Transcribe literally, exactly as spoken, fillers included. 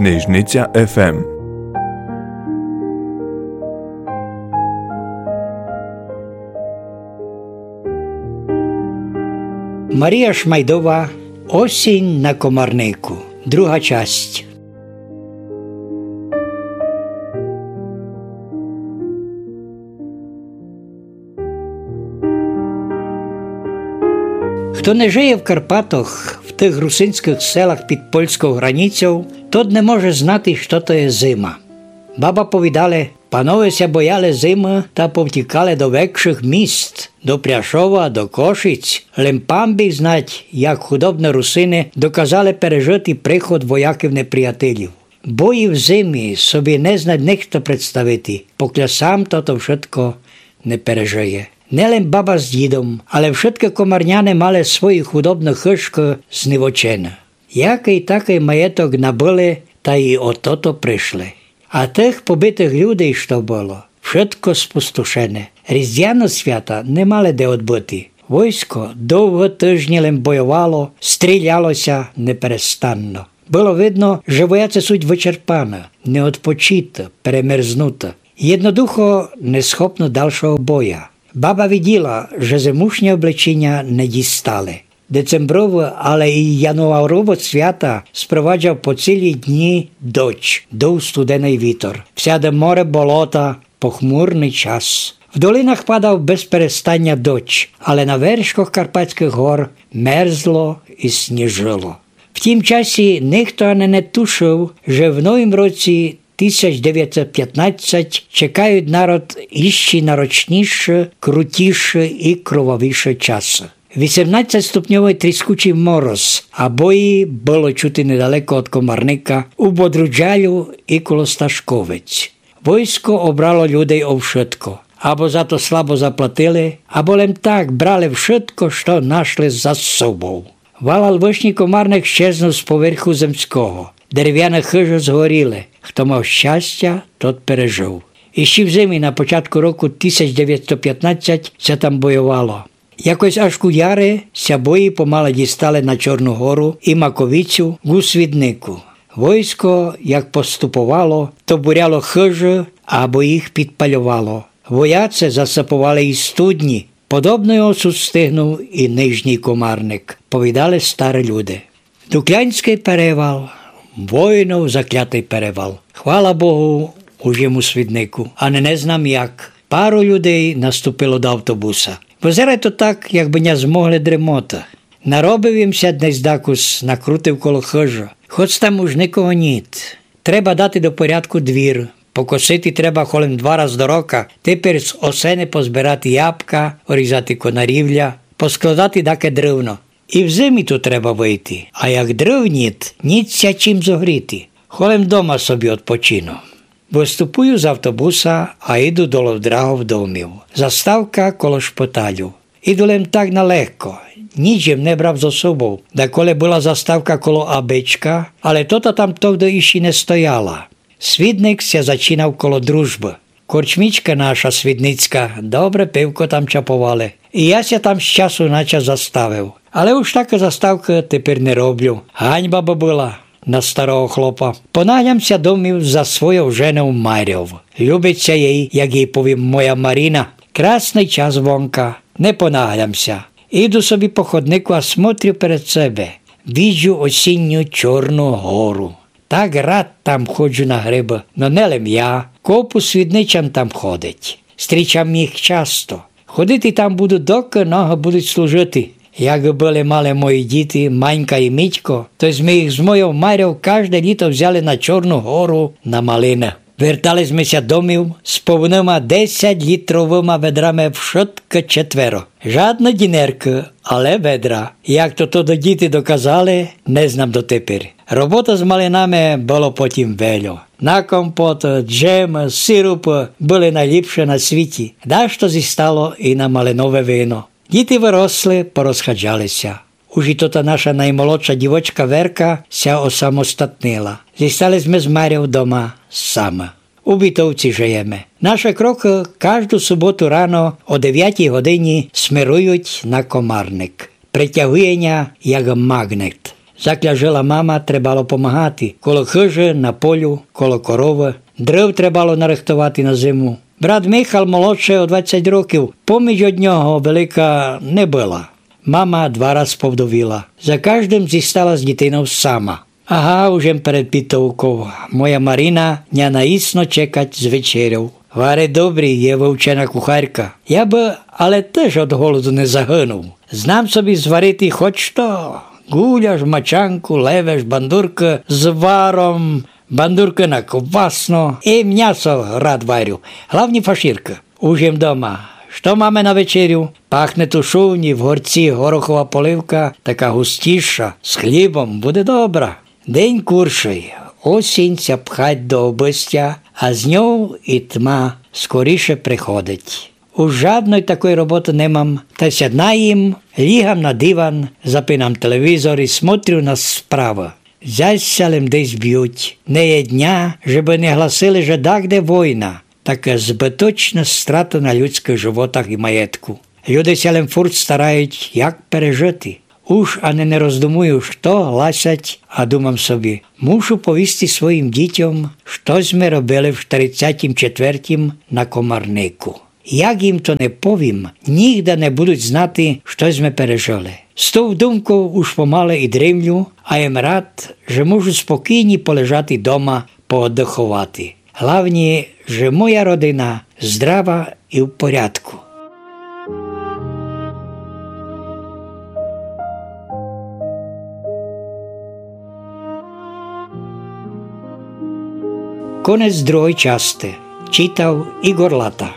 Книжниця еф ем. Марія Шмайдова. Осінь на Комарнику. Друга часть. Хто не жыє в Карпатах, в тых русинськых селах під польськов границьов, тот не може знати, што то є зима. Баба повідали, панове ся бояли зимы та повтікали до векшых міст, до Пряшова, до Кошиць. Лем пан біг знать, як худобны русины доказали пережыти приход вояків-неприятелів. Бої в зимі собі не знать нихто представити, покля сам тото вшытко не пережыє. Не лем баба з дідом, але вшыткы комарняне мали свої худобны хыжкы знівочены. Якый такый маєток набыли, та і о тото пришли. А тых побитых людей, што было, вшытко спустошене. Різдвяны свята не мали де одбыти. Войско довго тыжні лем бойовало, стріляло ся неперестанно. Было видно, же вояци суть вычерпаны, неодпочиты, перемерзнуты. Єднодухо несхопны далшого боя. Баба виділа, же зимушнє облечіня не дістали. Децембровы, але і януаровы свята спроваджав по цілі дні дождж, дув студеный вітор. Всяды море, болота, похмурный час. В долинах падав без перестаня дождж, але на вершках Карпатськых гор мерзло і сніжило. В тім часі нихто ани не тушыв, же в новім році тисяч девятсот пятнадцять чекають народ іщи нарочніші, крутіші і кровавіші часы. Вісемнадцятьступньовый тріскучый мороз, а бої было чути недалеко од Комарника, у Бодруджалю і коло Сташковець. Войско обрало людей о вшытко. Або за то слабо заплатили, або лем так брали вшытко, што нашли за собов. Валал вышній Комарник щезнув з поверху земського. Деревяны хыжы згоріли. Хто мав щастя, тот пережыв. Іщи в зимі на початку року тисяч девятсот пятнадцять ся там бойовало. Якось аж ку яри ся бої помалы дістали на Чорну гору і Маковицю ку Свіднику. Войско, як поступовало, то буряло хыжы або їх підпальовало. Вояци засыповали і студні. Подобный осуд стигнув і Нижній Комарник, повідали стары люди. Дуклянськый перевал, войнов заклятый перевал. Хвала Богу, уж єм у Свіднику, а не, не знам як. Пару людей наступило до автобуса. Вызирає то так, якбы ня змогли дремоты. Наробив єм ся днесь дакус, накрутив коло хыжы. Хоц там уж никого ніт. Треба дати до порядку двір. Покосити треба холем два раз до рока. Теперь з осени позбирати ябка, орізати конарівля, поскладати даке дрывно. І в зимі ту треба выйти, а як дрыв ніт, ніт ся чим зогріти. Холем дома собі одпочину. Выступую з автобуса, а іду долов драгов домів. Заставка коло шпиталю. Іду лем так налегко. Ніч єм не брав зо собов. Даколи была заставка коло Абичка, але тота там тогды іщи не стояла. Свідник ся зачинав коло Дружбы. Корчмічка наша свідницька, добре пивко там чаповали. І я ся там з часу на час заставив. Але уж такы заставкы теперь не роблю. Ганьба бы была на старого хлопа. Понаглям ся домів за свойов женов Марьов. Любить ся єй, як єй повім, моя Маріна. Красный час вонка. Не понаглям ся. Іду собі по ходнику, а смотрю перед себе. Виджу осінню Чорну гору. Так рад там ходжу на грибы, но не лем я, копу свідничан там ходить. Стрічам їх часто. Ходити там буду, докы ногы будуть служити. Якы были малы мої діти, Манька і Мітько, то сьме їх з мойов Марьов кажде літо взяли на Чорну гору на малины. Вертали сьме ся домів з повныма десятьлітровыма ведрами вшыткы четверо. Жадны дінеркы, але ведра. Як то, то діти доказали, не знам дотеперь. Робота з малинами было потім вельо. На компоты, джемы, сиропы были найліпше на світі. Дашто зістало і на малинове вино. Діти выросли, порозхаджали ся. Уж і тота наша наймолодша дівочка Верка ся осамостатнила. Зістали сьме з Марьов дома самы. У Бітовці жыєме. Нашы крокы кажду суботу рано о девятій годині смерують на Комарник. Притягує ня як магнет. Закля жила мама, требало помагати. Коло хыжы, на полю, коло коровы. Дрыв требало нарыхтовати на зиму. Брат Михал, молодшый о двадцять років, поміч од нього велика не была. Мама два раз повдовіла. За каждым зістала з дітинов сама. Ага, уж єм перед бітовков. Моя Марина ня наїсно чекать з вечерьов. Варить добрі, є вывчена кухарка. Я бы але тыж од голоду не загынув. Знам собі зварити хоть што. Гуляш, мачанку, левеш, бандуркы з варом, бандуркы на квасно. І мнясо рад варю. Главні фашіркы. Уж єм дома. Што маме на вечерю? Пахне тушовні, в горці горохова поливка, така густіша, з хлібом, буде добра. День куршый. Осінь ся пхать до обыстя, а з ньов і тма скоріше приходить. Уж жадной такой роботы не мам, та ся наїм, лїгам на диван, запинам телевізор і смотрю на справы. Зась ся лем десь бють. Не є дня, же бы не гласили, же дагде война. Така збыточна страта на людскых животах і маєтку. Люди ся лем фурт старають, як пережыти. Уж ани не роздумую, што гласять, а думам собі: мушу повісти своїм дітьом, што зме робили в штерицятім четвертім на Комарнику. Як їм то не повім, нїґда не будуть знати, што зме пережыли. З тов думков уж помалы і дремлю, а єм рад, же можу спокійні полежати дома, пооддыховати. Главні, же моя родина здрава і в порядку. Конець другой части. Читав Ігор Лата.